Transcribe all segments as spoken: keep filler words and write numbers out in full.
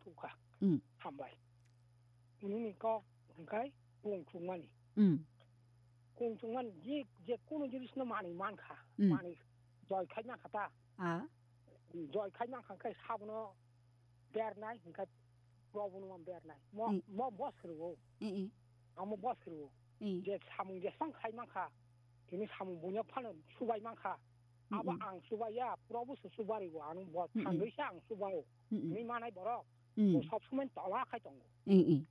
Thukha. Hmm. Hambai. Nini kok hwnkhe kung chukmani. Hmm. Kung chukmani je, je kunu jinisno manwi mankha. Hmm. Manwi joy khai mankha ta. Ah. Joy khai mankha khe sabono bernai hwnkhe Probhuno man bernai. Mo, Hmm. mo boss rwo. Hmm, hmm. Amo boss rwo. Hmm. Je samung jesang khai mankha. Tini samung bunya phano subai mankha. Hmm, Abo hmm. ang subaiya, Probhu se subai rwo. Ano bo Hmm, hmm. thangwi se ang subai o. Hmm, hmm. Tini manai borok. Hmm. Bo sob somoi tola khai tongo. Hmm, hmm.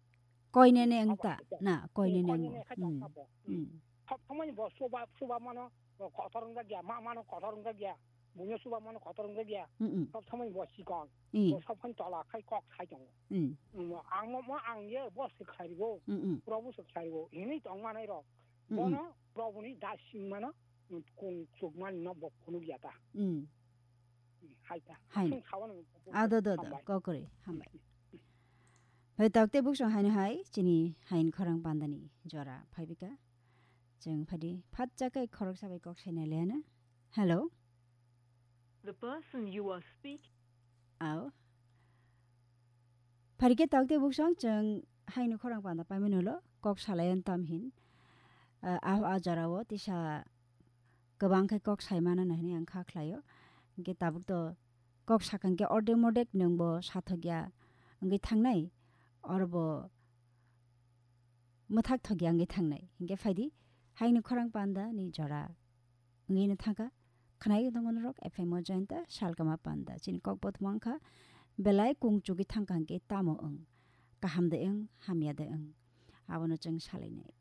Koinene Abo wngta. ang Na, koinene Koinene wngmo. khai Hmm. tongkha bo. Hmm. Hmm. Sob somoi bo suba, suba mano, bo kotor wngjakya, ma mano kotor wngjakya. Buino suba mano kotor wngjakya. Hmm, hmm. Sob somoi bo chikon. Hmm. Bo sob somoi tola khai kok sai tongo. Hmm. Hmm, ang mo, mo ang ye bo se khlai rwo. Hmm, hmm. Probhu se khlai rwo. Hini tong manai rok. Hmm, hmm. Bono Probhuni da sing mano, hmm, kung chuk mani no bo phunuk ya ta. Hmm. Hmm, hai ta. Hai. Aswng sawan Ado, do, do. Hambai. Kokori. Hambai. Hai, takte buksong haino hai, chini hain khorang pandani jora phaibika. Chwng phadi phat chakai khoroksa bai kok saina lena. Hello? The person you are speaking. Ao. Pharikhe takte buksong chwng haino khorang panda paimani ulo kok salayan tam hin. Ah, ah, ah, jorao tisa kwbang khe kok saimano hwnwi ang kha khlaio. Hinkhe tabuk to kok sakha hinkhe ordek mordek nwngbo sathokya wngwi thangnai. Orobo mwthak thokya wngwi thangnai. Hinkhe phaidi, haino khorang panda ni jora wngwi no thangkha. Khwnai tongo norok F M o jointa salkama panda. Chini kok bo thwngkha, belai kung chugwi thangkha hinkhe tamo wng. Kaham de wng, hamya de wng. Abono chwng salainai.